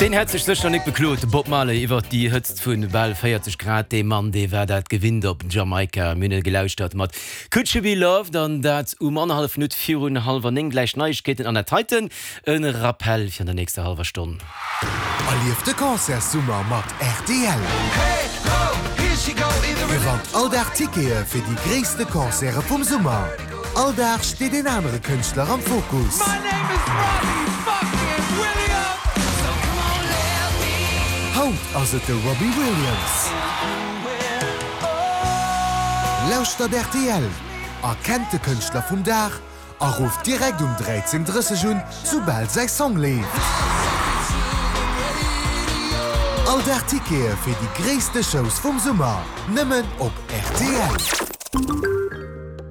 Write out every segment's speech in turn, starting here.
Deen hätt sech sécher nik beklot, de Bob Marley, iwwert déi Hëtzt vu bal 40 Grad. Dee Mann, dee war dat gewinnt op Jamaika. Mir hunn e gelauschtert mat Could You Be Loved an dat um annerhallef Minutt virun hallwer 9. Gläich Neiegkeeten an dat heiten e Rappel fir an der nächster hallwer Stonn. Erlieft de Concertssummer mat rtl! Gewannt all Dag Tickete fir déi gréisste Concerte vum Summer. All Dag steet een anere Kënschtler am Fokus. Haut ass et de Robbie Williams. Lauschtert rtl, erkennt de Kënschtler vum Dag a rufft direkt um 13:30 un, soubal säi Song leeft. All Dag Tickete fir déi gréisste Shows vum Summer, nëmmen op rtl.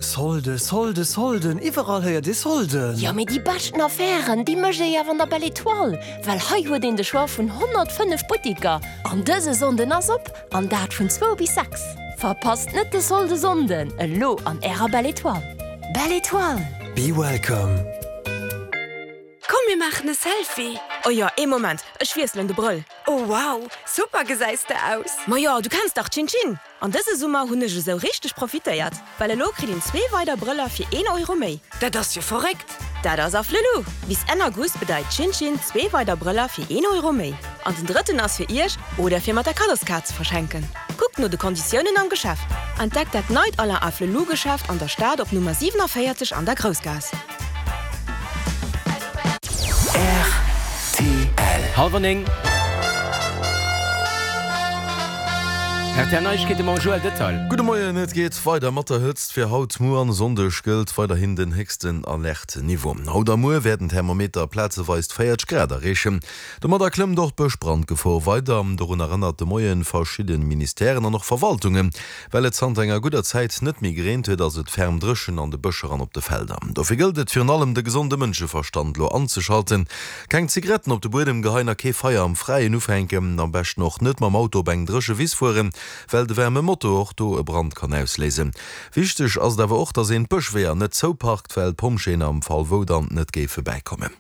Solde, Solde, Solden, iwwerall héiert ee Solden! Jo, mee déi beschten Affären, déi mécht ee jo awer an der Belle Etoile, well hei huet een de Choix vun 105 Buttiker an dëse Sonnden ass op, an dat vun zwou bis 6. Verpasst net de Solde Sonnden, elo an ärer Belle Etoile. Belle Etoile! Be welcome! Komm mir maachen e Selfie! Oh jo, ee Moment, ech wiesselen de Brëll. Oh wow, super gesäis de aus! Majo, du kenns dach Chin Chin! An dëse Summer hunn ech esou richteg profitéiert, well elo kritt een zwee weider Brëller fir een Euro méi. Dat ass jo verréckt! Dat ass Afflelou! Bis Enn August bedeit Chin Chin zwee weider Brëller fir een Euro méi. An den drëtten ass fir iech oder fir mat der Kaddoskaart ze verschenken. Kuckt no de Konditiounen am Geschäft. Entdeckt dat neit Alain Afflelou Geschäft an der Stad op Nummer 47 an der Groussgaass. Rtl. Hallwer 9. Rtl Neiegkeete mam Joël Detail. Gudde Moien, et geet weider mat der Hëtzt. Fir haut, muer an e Sonndeg gëllt weiderhin den héchsten Alerte-Niveau. Haut a muer wäerten d'Thermometer plazeweis 40 Grad erreechen. Domadder klëmmt och d'Bëschbrandgefor weider. Dorun erënnert de Moien verschidde Ministèren an och Verwaltungen. Well et zanter enger gudder Zäit net méi gereent huet, ass et ferm dréchen an de Bëscher an op de Felder. Dofir gëllt et virun allem de gesonde Mënscheverstand lo anzeschalten, keng Zigaretten op de Buedem geheien a kee Feier am Fräien ufänken. Am beschten och net mam Auto op eng dréche Wiss fueren, well de waarme Motor och do e Brand kann ausléisen. Wichteg ass et awer och, dass een d'Bëschweeër net zouparkt, well d'Pompjeeën am Fall wou dann net géife bäikommen.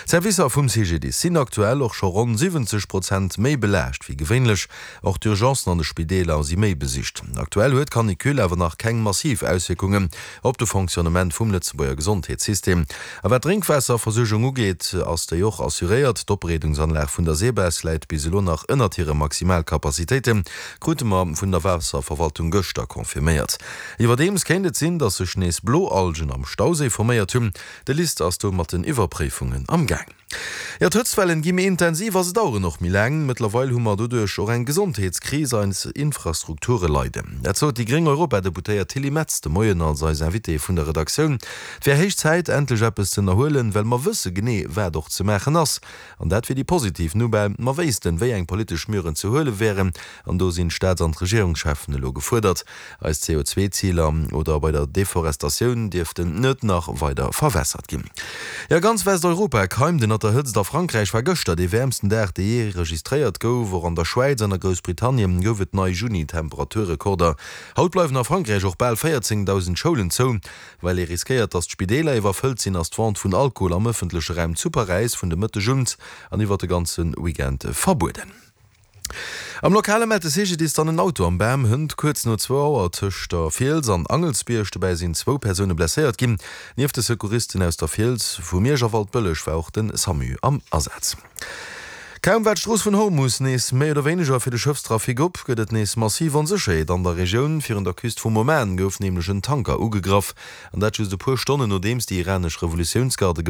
D'Servicer vum CGDIS sinn aktuell och scho ronn 70 Prozent méi belaascht wéi gewéinlech. Och d'Urgencen an de Spideeler si méi besicht. Aktuell huet d'Canicule awer nach keng massiv Auswierkungen op de Fonctionnement vum Lëtzebuerger Gesondheetssystem. A wat d'Drénkwaasserversuergung ugeet, ass déi och assuréiert. D'Opbereedungsanlag vun der SEBES läit bis elo nach ënnert hire Maximalcapacitéiten, krute mer vun der Waasserverwaltung gëschter confirméiert. Iwwerdeems kéint et sinn, datt sech nees Bloalgen am Stauséi forméiert hunn. De LIST ass do mat den Iwwerpréifungen am Gaang. Jo, d'Hëtztwellen gi méi intensiv a se daueren och méi laang. Mëttlerweil hu mer doduerch och eng Gesondheetskris. Eis Infrastrukture leiden. Dat sot déi gréng Europadeputéiert Tilly Metz de Moien als eis Invitée vun der Redaktioun. Et wär héich Zäit, endlech eppes ze ënnerhuelen, well mer wësse genee, wat och ze maachen ass. An dat wier déi positiv Nouvelle. Mer wéissten, wéi eng politesch Muren ze huele wären. An do sinn d'Staats an d'Regierungscheffen elo gefuerdert. Eis CO2-Ziler oder bei der Deforestatioun dierften net nach weider verwässert ginn. Jo, ganz Westeuropa keimt ënnert der Hëtzt. A Frankräich war gëschter dee wäermsten Dag, dee jee registréiert gouf. Och an der Schwäiz an a Groussbritannien gouf et nei Juni-Temperaturrekorder. Haut bleiwen a Frankräich och bal 14.000 Schoulen zou. Well ee riskéiert, datt d'Spideeler iwwerfëllt sinn, ass d'Vente vun Alkohol am ëffentleche Raum zu Paräis vun de Mëtteg un an iwwer de ganze Weekend verbueden. Am Lokale mellt de CGDIS dann en Auto am Bam hënt kuerz no zwou Auer tëscht der Fiels an Angelsbierg. Dobäi sinn zwou Persoune blesséiert ginn. Nieft de Secouristen aus der Fiels, vu Miersch a Waldbëlleg war och de Samu am Asaz. Kaum war d'Strooss vun Hormus nees méi oder wéineger fir de Schëffstrafic op, gëtt et nees massiv Onsécherheet an der Regioun. Virun der Küst vum Oman gouf nämlech en Tanker ugegraff, an dat just e puer Stonnen nodeems déi iranesch Revolutiounsgarde.